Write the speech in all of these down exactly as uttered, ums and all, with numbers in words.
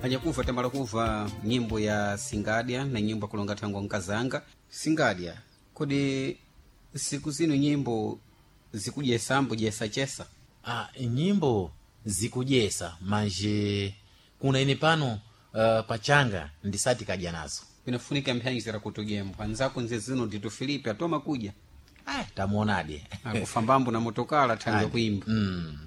Anyakuva tamala kuva nyimbo ya Singadya na nyimbo akulonga thangwa nkazanga. Singadya, kodi siku zino nyimbo zikujesambo jesachesa? Ah, nyimbo zikujesa manje kuna ine pano uh, pachanga ndisati kadya nazo. Inafunika mphyanyizira kutujembo anzako nze zino Dito Filipe atoma kuja. Ah, tamuonadi. Akufambambo na motokala thangwe kuimba. mm,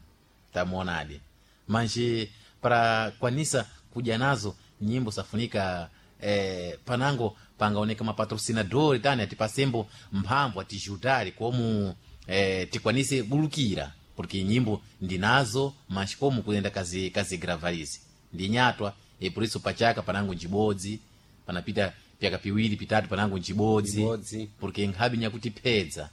tamuonadi manje para kwanisa kudya nazo nyimbo safunika eh, panango pangaoneka mapatrocinador tani atipasembo mphamvu atijudari komu eh, tikwanise bulukira porque nyimbo ndinazo mas como kuyenda kazi kazi gravarizi ndinyatwa e por isso pachaka panango njibodzi panapita pyaka piwiri pitatu panango njibodzi Njibodzi. porque nkhabi nyakutipedza.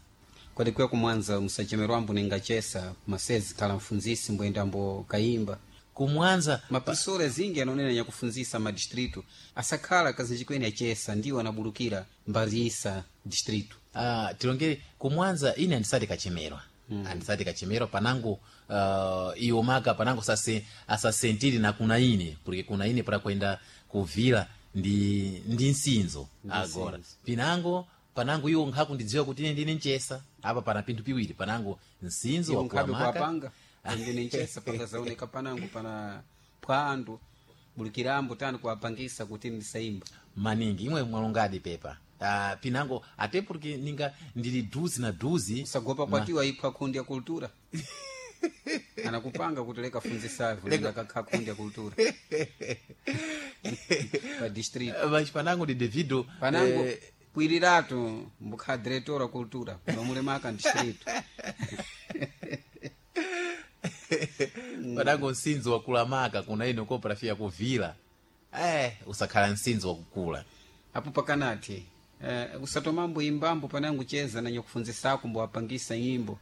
Kodi kuya kumwanza musachemerwambo ningachesa masezi khala mfunzisi mboyendambo kayimba. Kumwanza. Mapasora zingi anonena nyakufunzisa madistritu asakhala kazinji kwene achesa ndiwo anabulukira mbarisa distritu. Ah, tilongere kumwanza ine andisati kachemerwa mm. andisati kachemerwa panango uh, iwo maka panango sase, asasentiri na kuna ine porque kuna ine para kwenda kuvila ndi ndi nsinzo agora pinango panango iwo nkhakundidziwa kuti ine ndine nchesa apa pana pinthu piwiri panango nsinzo iwo wakula nkhabe maka. kuwapanga ndine nchesa pakazaoneka panango pana phwando bulukirambo tani kuwapangisa kuti ndisaimba. Maningi imwe mwalongadi pepa uh, pinango ate porque ninga ndili duzi na duzi. Usagopa kwatiwa ipha kundi ya kultura anakupanga kuti leka funzisavu leka kundi ya kultura pa distritu. Mas panango ndi devido panango eh, pwiriratu mbukha diretora kultura mamulemaka distritu. Panango nsinzo wakula maka kuna ino koprafia kuvila eh, usakhala nsinzo wakukula. Apo pakanati eh, usatomambo imbambo panango cheza nanyo kufunzisako mbuwapangisa nyimbo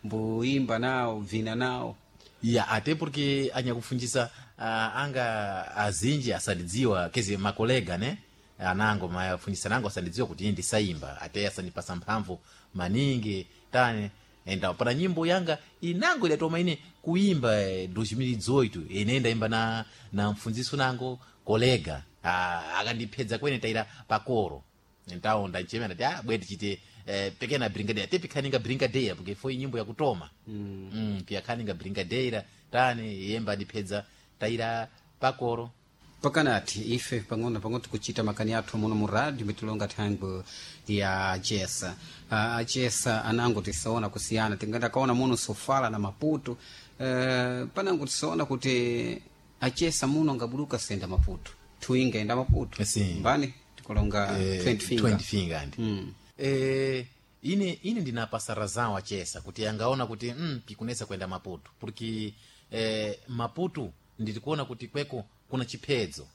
mbuimba nawo vina nawo. Ya ate porque anyakufunjisa uh, anga azinji asandidziwa kezi makolega ne anango mafunjisa nango asandidziwa kuti ine ndisaimba ate asandipasa mphamvu maningi tani enda pana nyimbo yanga inango idatoma ine kuimba eh, elfu mbili na khumi na zisanu ine ndaimba na, na mfunziso nango kolega ah, akandipedza kwene taira pakoro então ndachema ndati ah bwe tichite eh, pequena brincadeira te pikhaninga brincadeira porque foi nyimbo yakutoma mm. mm, piyakhaninga brincadeira tani yemba ndipedza taira pakoro. Pakanati ife pang'ono pang'ono tikuchita makani athu muno mu radio mitilonga thangwe ya achesa. uh, achesa anango tisaona kusiyana tingenda kaona muno sofala na Maputo uh, panango tisaona kuti achesa muno angabuluka senda Maputo thuinga enda Maputo. Sim. Mbani tikulonga Eh, twenty finger. twenty finger ndi Mm. eh, ine ine ndinapasa razão achesa kuti angaona kuti mm, pikunesa kwenda Maputo porque eh, Maputo ndilikuona kuti kweko kuna chiphedzo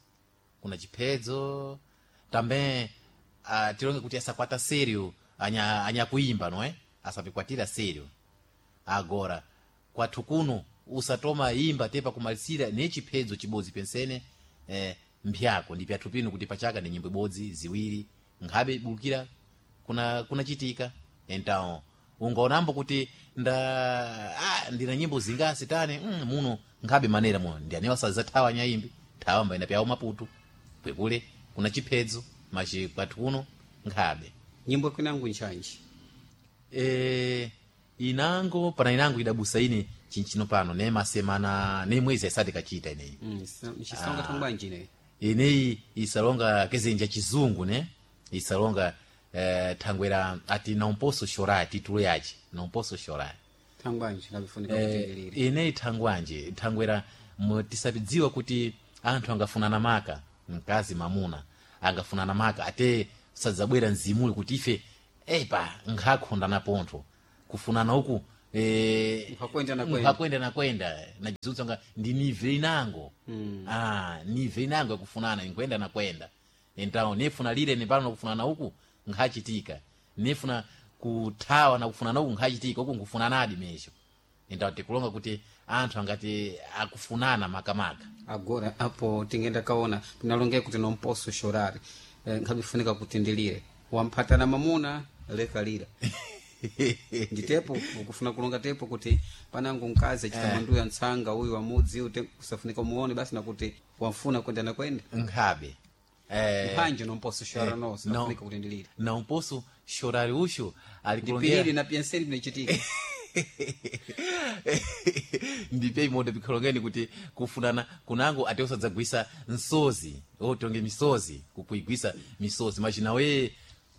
kuna chiphedzo também uh, tilonge kuti asakwata sério anya anyakuimba não é asapikwatira sério agora kwathu kuno usatoma imba te pakumalisira ne chiphedzo chibodzi pensene eh, mphyako ndi pyathu pino kuti pachaka ndi nyimbo ibodzi ziwiri nkhabe bulukira kuna kunachitika então ungaonambo kuti nda ah, ndina nyimbo zingasi tani mm, muno nkhabe manera muno ndi anewa sazathawa nyayimbi thawa mbayenda pyawo Maputo kwekule kuna chiphedzo machi kwathu kuno nkhabe. Nyimbo kwinango nchanji? e, inango pana inango idabusa ine chinchino pano ne masemana ne mwezi asati kachita ineyi. Mm, nchisonga thangwanji ineyi? Ineyi isalonga kezenja chizungu ne isalonga eh, thangwera ati não posso chorar titulo yace não posso chorar. Thangwanji ngabifunika eh, kutindirire. Ineyi thangwanje thangwera mu- tisapidziwa kuti anthu angafunana maka mkazi mamuna angafunana maka ate sadzabwera mzimuli kuti ife epa nkhakhondana pontho kufunana uku eh, Nkhakwenda na kwenda. nkhakwenda na kwenda nachizunzo nga ndi nive inango mm. ah, nive inango yakufunana nkwenda na kwenda então nifuna lile nipano nakufunana uku nkhachitika nifuna kuthawa na kufunana uku nkhachitika uku nkufunanadi mesho então tikulonga kuti anthu angati akufunana makamaka. Agora apo tingenda kaona tinalonge kuti não posso chorar eh, nkhabifunika kutindilire wamphatana mamuna leka lira. Nditepo ukufuna kulonga tepo kuti panango mkazi achita manduya ntsanga uyu wamudzi uyu kusafunika umuone basi nakuti wamfuna kwenda na kwenda nkhabe eh, mphanje nomposo shora no no. sinafunika kuti ndilire na umposo shorari usho ndipirire alikulongera na piyanseri binachitika ndipe imoto pikholongeni kuti kufunana kunango ate usadzagwisa nsozi otonge misozi kukuigwisa misozi machinawe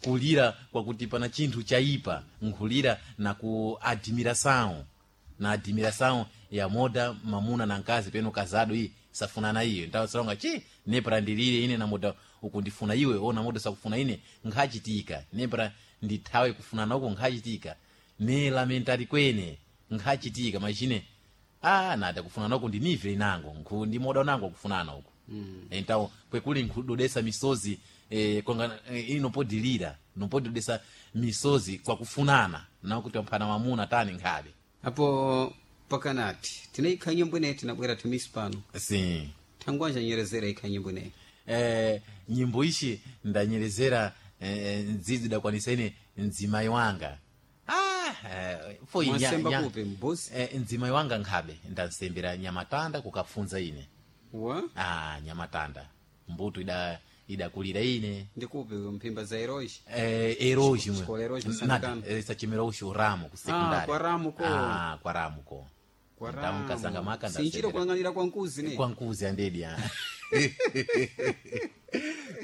kulira kwakuti pana chinthu chaipa nkhulira na ku admiração na admiração ya moda mamuna na nkazi peno kazado iyi safunana iyo ntawo salonga chi nepra ndilire ine na moda ukundifuna iwe ona moda sakufuna ine nkhachitika nepra ndithawe kufunana uko nkhachitika ne lamentari kwene nkhachitika machine ah nada kufunana uko ndinivile inango nkhu ndi moda unango kufunana uko mm. entawo kwekuli nkhudodesa misozi eh, konga eh, inopodilira nopododesa misozi kwakufunana nakuti wamphana mamuna tani nkhabe apo pakanati tinaikha nyimbo ineyi tinabwera timisi pano sim thangwanja nyerezera ikha nyimbo ineyi eh, nyimbo ishi ndanyerezera eh, ndzidzi dakwanisa ine mdzimayi wanga ah, eh, foi nya- Mwasemba nya- kupi, mbuzi? eh, mdzimayi wanga nkhabe ndansembera nyamatanda kukafunza ine wa ah, nyamatanda mbuto ida idakulira ine ndikupi mphimba za eroji eh, eroji mwe. Xikola Eroji, Nada, Santana. eh, sachemera uxo ramo ku sekondari Ah, kwa Ramo ko. ah, kwa ramo ko Kwa Então, nkazanga maka sinchira ndasembera. kulang'anira kwa nkuzi ne kwa nkuzi andedi ah.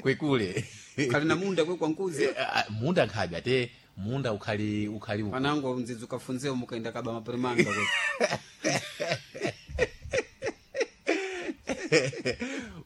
kwekule khali na munda kwe kwa nkuzi Eh, ah, munda nkhabe ate munda ukhali ukhali uku. panango mdzidzi ukafunzewo mukaenda kaba maperimanga kwe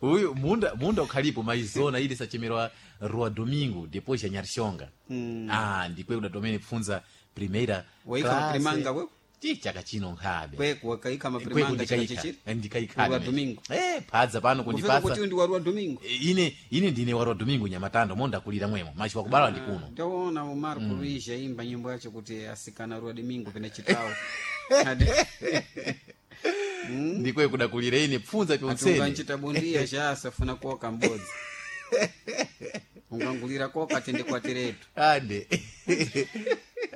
uyu munda munda ukhalipo maizona ili sachemerwa rua domingo depois ya nyarishonga mm. ah ndikwe kudatomene pfunza primeira Waika classe. maperimanga kwe? Chi chaka chino nkhabe kweku wakaika Kweku maperimanga chaka ndikaika. chichiri ndikaika Rua Domingo. eh phadza pano kufika kundipasa kuti ndi warua domingo ine ine ndine warua domingo nyamatando mondakulira mwemo machi wakubala ndi kuno ndaona Marco mm. Luiz aimba nyimbo yacho kuti asikana rua domingo pena chitawo Ati- ndikwe kudakulira ine pfunza ati pyonsene unganchita bundiya chasafuna koka mbodzi ungangulira koka tende kwatiretu ande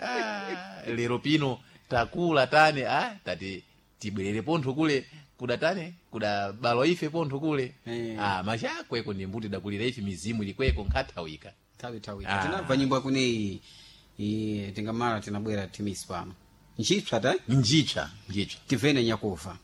Ah, lero pino takula tane ah, tati tibwerere pontho kule kuda tane kuda balwa ife pontho kule Eh. ah, machakweko ndi mbuti dakulira ife mizimu ilikweko nkhathawika thawi thawi Ah. tinabva nyimbo yakuneyi iye tingamala tinabwera timisi pano ntchipsa ta njitsva njitsva tivene nyakufa.